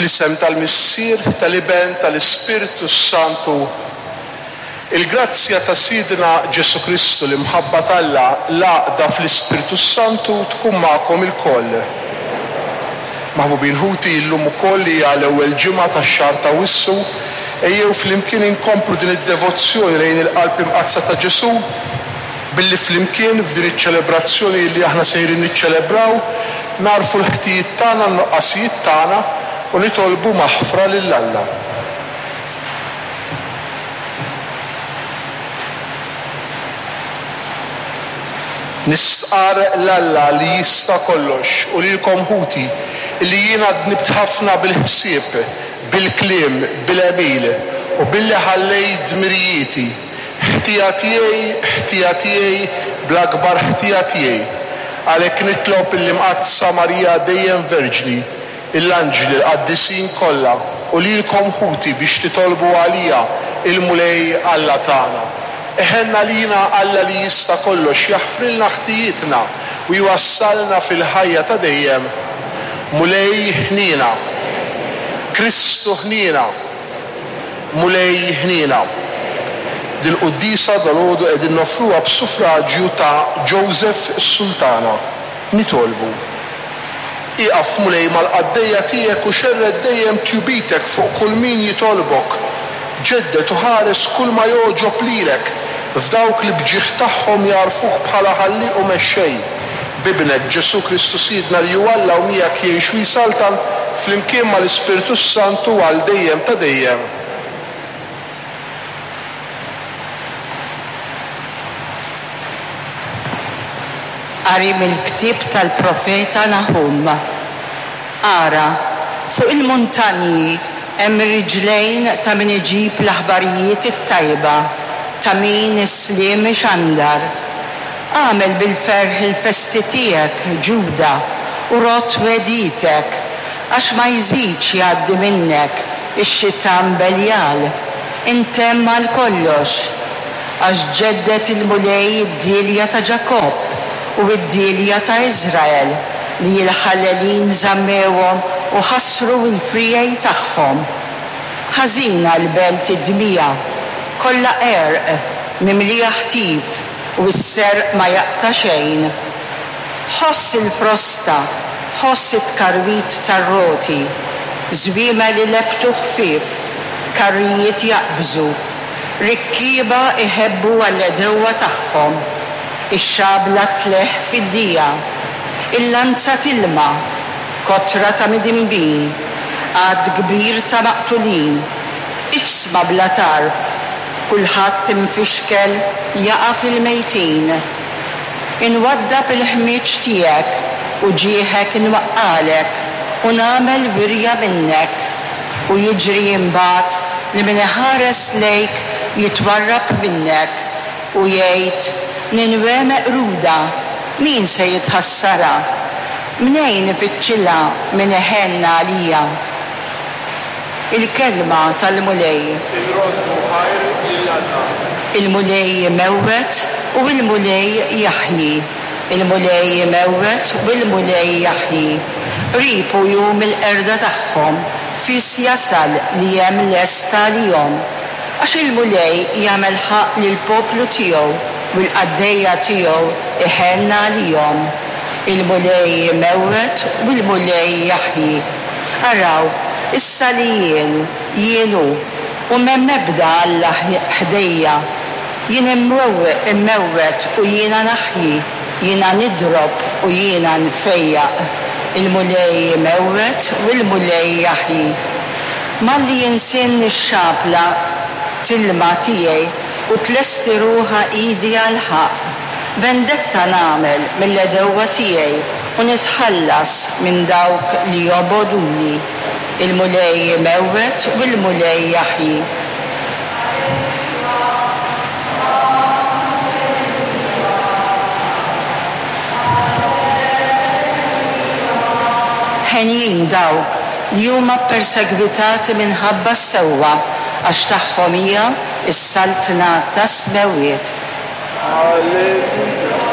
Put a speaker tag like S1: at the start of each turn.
S1: Fl-isem tal-Missier, tal-Iben, tal-Ispirtu s-Santu, il-grazzja ta' Sidna Ġesù Kristu, l-imħabba t'Alla, l-għaqda fl-Ispirtu s-Santu tkun magħkom ilkoll. Maħbubin ħuti, illum ukoll hija l-ewwel ġimgħa tax-xahar t'Awwissu, ejjew flimkien inkomplu din id-devozzjoni lejn il-Qalb Imqaddsa ta' Ġesù, billi flimkien f'din iċ-ċelebrazzjoni li aħna sejrin niċċelebraw, nagħrfu l-ħtijiet tagħna, n-nuqqasijiet tagħna u nitolbu maħfra lil Alla. Nistqarr 'l Alla li jista' kollox u lilkom ħuti, illi jiena dnibt ħafna bil-ħsieb, bil-kliem, bil-għemil, u billi ħallejt dmirijieti. Ħtija tiegħi, ħtija tiegħi, bl-akbar ħtija tiegħi. Għalhekk nitlob lill-Imqaddsa Marija dejjem Verġni, l-anġli, l-qaddisin kollha, u lilkom ħuti biex titolbu għalija il-Mulej Alla tagħna. Iħenn għalina Alla li jista' kollox, jaħfrilna ħtijietna u jwassalna fil-ħajja ta' dejjem. Mulej ħniena. Kristu ħniena. Mulej ħniena. Dil-quddiesa dalgħodu qegħdin noffruha b'suffraġju ta' Joseph Sultana. Nitolbu. Ieqaf Mulej mal-qaddejja tiegħek u xerred dejjem tjubitek fuq kull min jitolbok. Ġedded u ħares kull ma jogħġob lilek f'dawk li b'ġieħ tagħhom jagħrfuk bħala Ħallieq u Mexxej. B'Ibnek, Ġesù Kristu Sidna li hu Alla u miegħek jgħix u jsaltan flimkien mal-Ispirtu s-Santu għal dejjem ta' dejjem.
S2: Qari mill-ktieb tal-profeta Naħum. Ara, fuq il-muntanji hemm ir-riġlejn ta' min iġib l-aħbarijiet it-tajba, ta' min is-sliem ixandar. Agħmel bil-ferħ il-festi tiegħek, Ġuda, u rodd wegħdietek, għax ma jżidx jgħaddi minnek ix-xitan Beljal, intemm għal kollox. Għax ġedded il-Mulej id-dielja ta' Ġakobb u d-dielja ta' Iżrael, li l-ħallelin żammewhom u ħassru l-friegħi tagħhom. Ħażina l-belt id-dmija, kollha għerq, mimlija ħtif, u s-serq ma jaqta' xejn. Ħoss il-frosta, ħoss it-tkarwit tar-roti, żwiemel ilebbtu ħfief, karrijiet jaqbżu, rikkieba iħebbu għall-għedewwa tagħhom, ix-xabla tleħħ fid-dija, il-lanza tilma, kotra ta' midinbin, għadd kbir ta' maqtulin, iġsma bla tarf, Kulħadd imfixkel jaqa' fil-mejtin. Inwaddab il-ħmieġ tiegħek u ġieħek inwaqqagħlek u nagħmel wirja minnek. U jiġri imbagħad li min iħares lejk jitwarrab minnek u jgħid, 'Ninwè meqruda, min se jitħassarha? Mnejn ifittxilha min iħenn għaliha? Il-Kelma tal-Mulej.
S1: Inroddu ħajr lil Alla.
S2: Il-Mulej imewwet u l-Mulej jaħji, il-Mulej imewwet u l-Mulej jaħji. Qrib hu jum il-qerda tagħhom, fis jasal li hemm lest għalihom. Għax il-Mulej jagħmel ħaqq lill-poplu tiegħu u l-qaddejja tiegħu iħenn għalihom. Il-Mulej imewwet u l-Mulej jaħji. Araw, issa li jien, jien hu, u m'hemm ebda alla ħdejja. Jien immewwet u jiena naħji, jiena nidrob u jiena nfejjaq. Il-Mulej imewwet u l-Mulej jaħji. Malli jinsinn ix-xabla tilma tiegħi u tlesti ruħha idi għall-ħaqq, Vendetta nagħmel mill-għedewwa tiegħi u nitħallas minn dawk li jobogħduni. Il-Mulej imewwet u l-Mulej jaħji. Henjin dawk li huma ppersegwitati minħabba s-sewwa, għax tagħhom hija s-saltna tas-smewwiet.
S1: Alleluja.